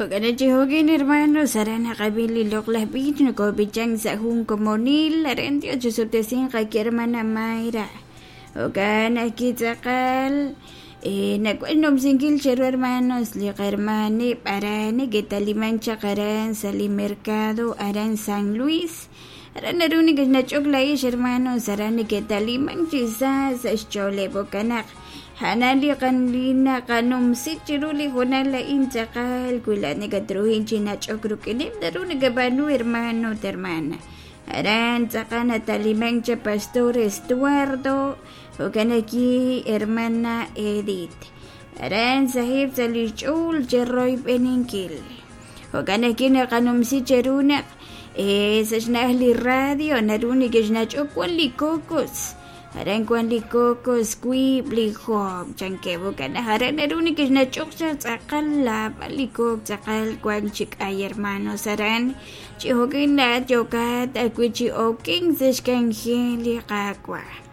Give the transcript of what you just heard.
Jo'kan chi jo'kin hermanos, aran naqab'i li loq'laj b'ich nokob'ichank sa' jun komonil, aran Dios chisuttesinq qaki hermana Mayra. Jo'kan ajwi' tz'aqal nawan xnumsinkil cheru hermanos li qahermaneb' aran neke'talimank chaq aran sa' li mercado aran San Luis. Aran naru nekexnach'ok laa'ex hermanos aran neke'talimank chi sa sa' xch'ooleb' jo'kan naq a'an li li naqanumsi chiru li hoonal a'in tz'aqal wi laa'at nakatruhin chi nach'ok rik'ineb' naru nakab'aanu hermano ut hermana. Aran tz'aqal natalimank cha pastor Estuardo jo'kan ajwi' hermana Edith. Aran saheb' sa' li xch'ool cheroyb'eninkil. Jo'kan ajwi' naqanumsi cheru naq sa' xna'aj li radio naru nekexnach'ok wan li cocos. Aran wan li cocos wiib' li joob' chankeb' jo'kan naq aran naru nekexnach'ok chaq tz'aqal naab'al li kook tz'aqal wan chi k'ay hermanos aran chi jo'kan laa'at yookat ajwi' chi okenk sa' xk'anjel li Qaawa'.